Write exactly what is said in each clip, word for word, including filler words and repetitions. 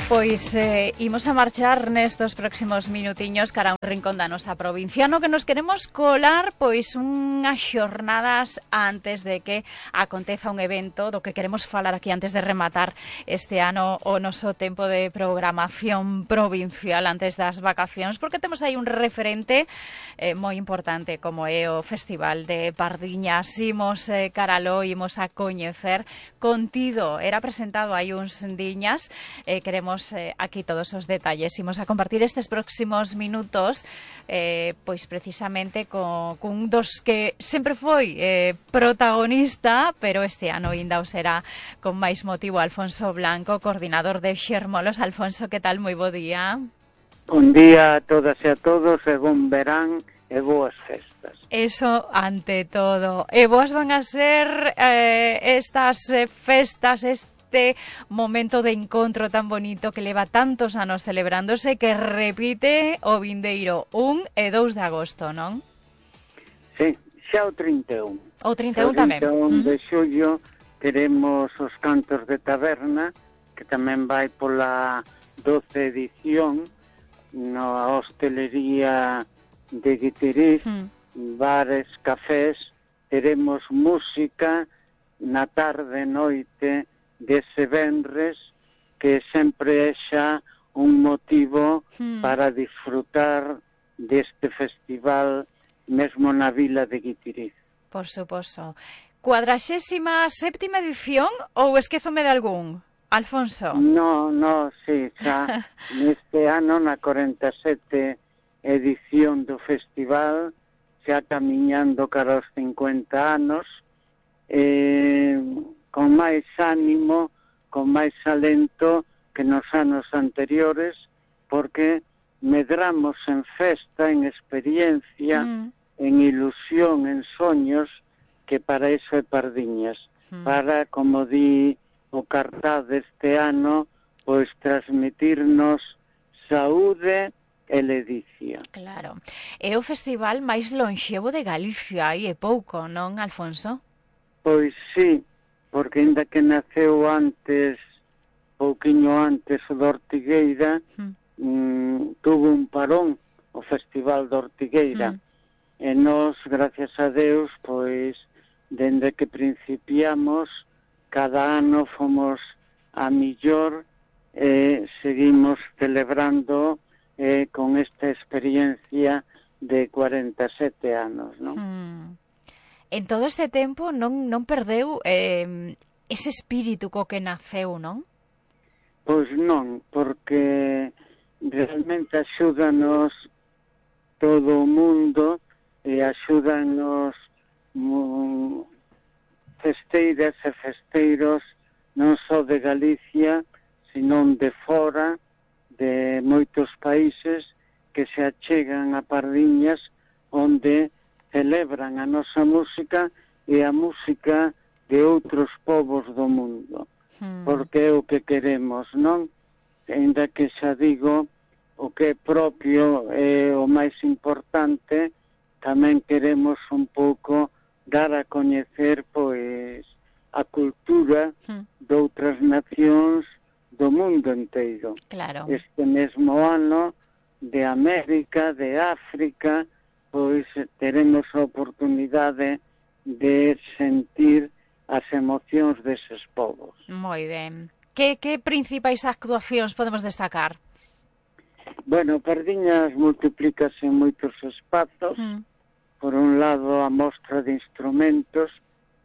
Pois eh, imos a marchar nestos próximos minutiños cara a un rincón da nosa provincia no que nos queremos colar pois unhas xornadas antes de que aconteza un evento do que queremos falar aquí antes de rematar este ano o noso tempo de programación provincial antes das vacacións, porque temos aí un referente eh, moi importante como é o Festival de Pardiñas. Imos eh, caralo, imos a coñecer contido, era presentado hai uns diñas, eh, queremos Eh, aquí todos os detalles. Imos a compartir estes próximos minutos eh, pois precisamente con, con dos que sempre foi eh, protagonista, pero este ano ainda o será con máis motivo. Alfonso Blanco, coordinador de Xermolos. Alfonso, que tal? Moi bo día. Bon día a todas e a todos, e bon verán e boas festas. Eso ante todo. E boas van a ser eh, estas eh, festas, este este momento de encontro tan bonito que leva tantos anos celebrándose, que repite o vindeiro un e dous de agosto, non? Sí, xa o trinta e un. O trinta e un tamén. O trinta e un de xullo teremos os cantos de taberna, que tamén vai pola doce edición, na hostelería de Guitiriz, mm. bares, cafés, teremos música na tarde, noite, dese venres, que sempre é xa un motivo hmm. para disfrutar deste festival mesmo na vila de Guitiriz. Por suposto. Cuadraxésima séptima edición ou esquézome de algún, Alfonso? No, no, sí, xa neste ano na cuarenta e sete edición do festival, xa camiñando cara aos cincuenta anos, eh... con máis ánimo, con máis alento que nos anos anteriores, porque medramos en festa, en experiencia, mm. en ilusión, en soños, que para iso é Pardiñas. Mm. Para, como di o cartaz deste ano, pois transmitirnos saúde e ledicia. Claro. É o festival máis lonxevo de Galicia, e é pouco, non, Alfonso? Pois sí, porque ainda que naceu antes, pouquiño antes o da Ortigueira, mm. mm, tuvo un parón o Festival da Ortigueira, mm. e nós, gracias a Deus, pois, dende que principiamos, cada ano fomos a millor e seguimos celebrando eh, con esta experiencia de cuarenta e sete anos, non? Mm. En todo este tempo non, non perdeu eh, ese espírito co que naceu, non? Pois non, porque realmente axúdanos todo o mundo e axúdanos um, festeiras e festeiros non só de Galicia, senón de fora, de moitos países que se achegan a Pardiñas, onde celebran a nosa música e a música de outros povos do mundo. Hmm. Porque é o que queremos, non? Ainda que xa digo, o que é propio é o máis importante, tamén queremos un pouco dar a coñecer, pois, a cultura hmm. de outras nacións do mundo inteiro. Claro. Este mesmo ano, de América, de África, pois teremos a oportunidade de sentir as emocións deses povos. Moi ben. Que, que principais actuacións podemos destacar? Bueno, Pardiñas multiplícase en moitos espazos. Mm. Por un lado, a mostra de instrumentos,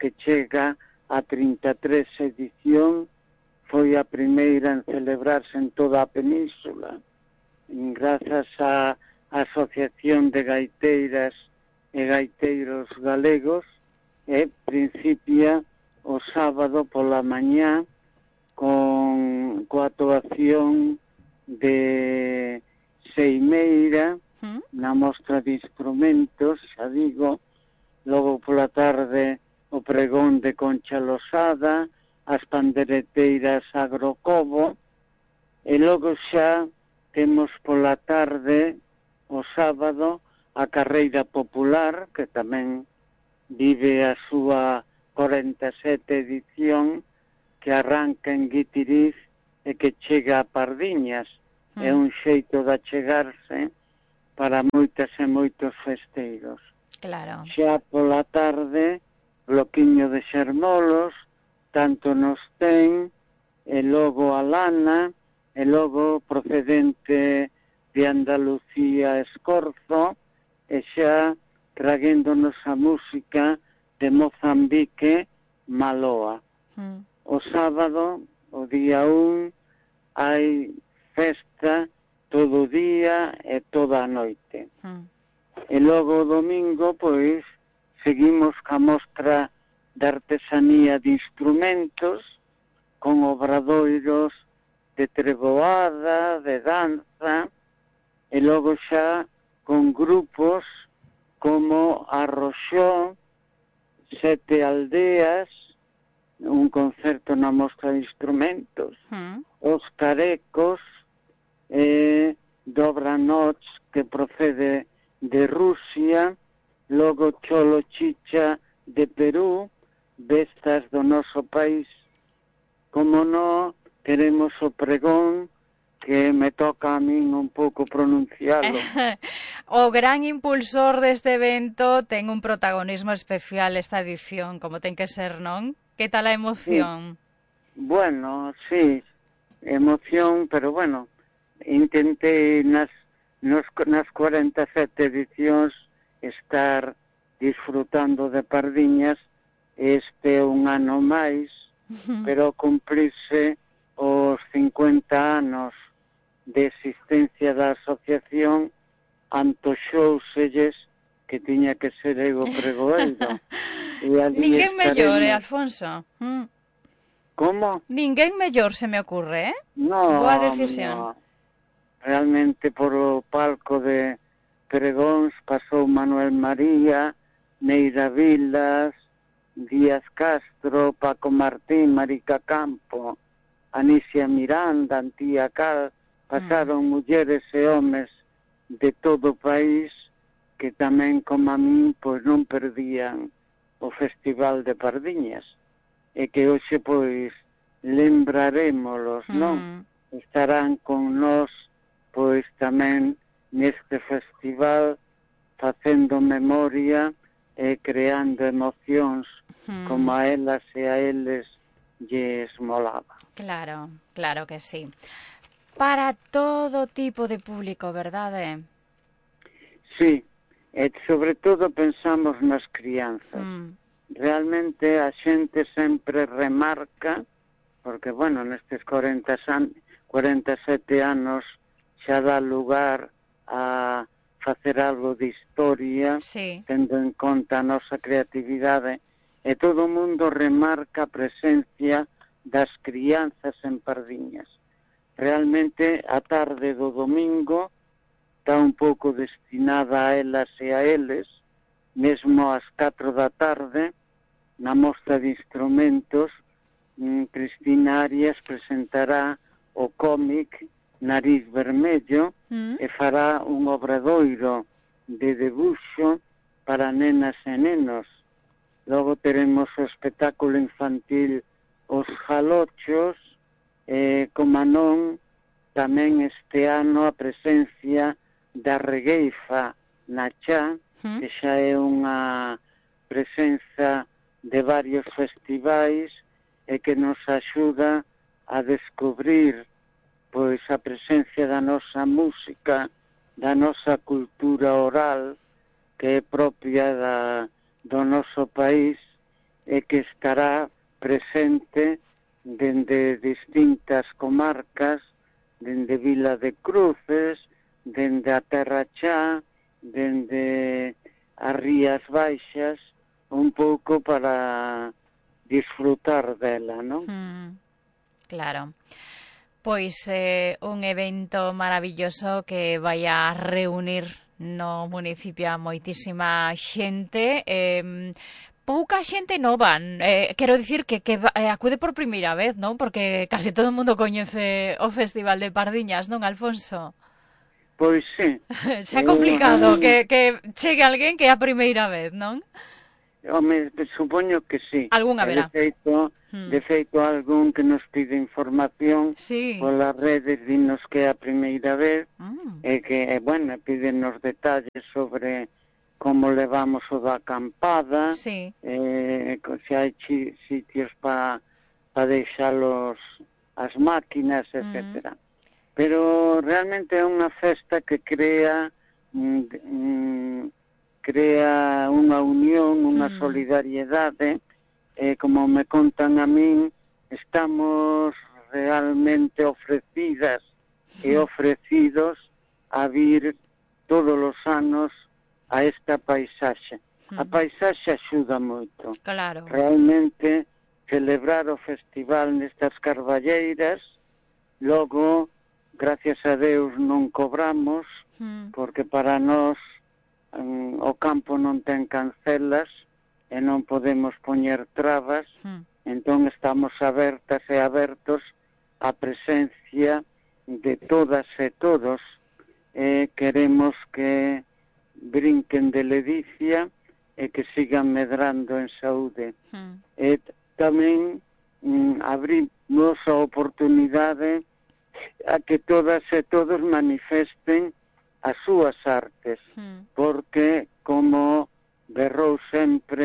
que chega a trinta e tres edición, foi a primeira en celebrarse en toda a península. Grazas a Asociación de Gaiteiras e Gaiteiros Galegos, e principia o sábado pola mañá con coa actuación de Seimeira ¿Mm? na mostra de instrumentos, xa digo, logo pola tarde o pregón de Concha Losada, as pandereteiras Agrocobo, e logo xa temos pola tarde o sábado a carreira popular, que tamén vive a súa cuarenta e sete edición, que arranca en Guitiriz e que chega a Pardiñas. Mm. É un xeito de achegarse para moitas e moitos festeiros. Claro. Xa pola tarde, bloquiño de xermolos, tanto nos ten, e logo a lana, e logo procedente de Andalucía Escorzo, e xa traguéndonos a música de Mozambique Maloa. Mm. O sábado, o día un, hai festa todo o día e toda a noite. Mm. E logo o domingo, pois, seguimos ca mostra de artesanía de instrumentos, con obradoiros de treboada, de danza, e logo xa con grupos como Arroxó, Sete Aldeas, un concerto na mostra de instrumentos, mm. Os Carecos, eh, Dobra Noche, que procede de Rusia, logo Cholo Chicha de Perú, Vestas do noso país. Como no, queremos o pregón, que me toca a min un pouco pronuncialo. O gran impulsor deste evento ten un protagonismo especial esta edición, como ten que ser, non? Que tal a emoción? Sí. Bueno, sí, emoción, pero bueno, intentei nas, nos, nas cuarenta e sete edicións estar disfrutando de Pardiñas. Este é un ano máis, pero cumprirse os cincuenta anos de existencia da asociación, antoxóuselles que tiña que ser eu pregoeiro. Ninguén mellor, eh, Alfonso? Mm. Como? Ninguén mellor, se me ocurre, eh? No, boa decisión. No. Realmente por o palco de pregóns pasou Manuel María, Neira Vilas, Díaz Castro, Paco Martín, Marica Campo, Anicia Miranda, Antía Cal, pasaron mm. mulleres e homes de todo o país que tamén, como a min, pois non perdían o Festival de Pardiñas, e que hoxe, pois, lembrarémolos, mm. non? Estarán con nós, pois, tamén neste festival, facendo memoria e creando emocións mm. como a elas e a eles lles molaba. Claro, claro que sí. Para todo tipo de público, verdade? Sí, e sobre todo pensamos nas crianzas. Mm. Realmente a xente sempre remarca, porque, bueno, nestes cuarenta, cuarenta e sete anos xa dá lugar a facer algo de historia, sí. Tendo en conta a nosa creatividade, e todo o mundo remarca a presencia das crianzas en Pardiñas. Realmente a tarde do domingo está un pouco destinada a elas e a eles, mesmo ás catro da tarde, na mostra de instrumentos, Cristina Arias presentará o cómic Nariz Vermello mm. e fará un obradoiro de debuxo para nenas e nenos. Logo teremos o espectáculo infantil Os Jalochos, e, como non, tamén este ano a presencia da regueifa na Chá, mm. que xa é unha presenza de varios festivais e que nos axuda a descubrir pois a presencia da nosa música, da nosa cultura oral, que é propia da, do noso país e que estará presente dende distintas comarcas, dende Vila de Cruces, dende a Terra Chá, dende as Rías Baixas, un pouco para disfrutar dela, non? Mm, claro. Pois é eh, un evento maravilloso que vai a reunir no municipio a moitísima xente, eh, pouca xente nova, eh, quero dicir que, que eh, acude por primeira vez, non? Porque case todo o mundo coñece o Festival de Pardiñas, non, Alfonso? Pois sí. Xa é complicado uh, que, que chegue alguén que é a primeira vez, non? Home, supoño que sí. Algún haberá. De feito, mm. de feito algún que nos pide información sí. polas redes, dinos que é a primeira vez, mm. e que, bueno, pídenos detalles sobre como levamos o da acampada, sí. eh, se hai chi, sitios para pa deixalos as máquinas, etcétera. Mm. Pero realmente é unha festa que crea mm, mm, crea unha unión, unha mm. solidariedade, eh, como me contan a min, estamos realmente ofrecidas mm. e ofrecidos a vir todos os anos a esta paisaxe. Mm. A paisaxe axuda moito. Claro. Realmente, celebrar o festival nestas carballeiras, logo, gracias a Deus, non cobramos, mm. porque para nós um, o campo non ten cancelas e non podemos poñer trabas, mm. entón estamos abertas e abertos á presencia de todas e todos, e queremos que brinquen de ledicia e que sigan medrando en saúde. Mm. E tamén mm, abrimos a oportunidade a que todas e todos manifesten as súas artes, mm. porque, como berrou sempre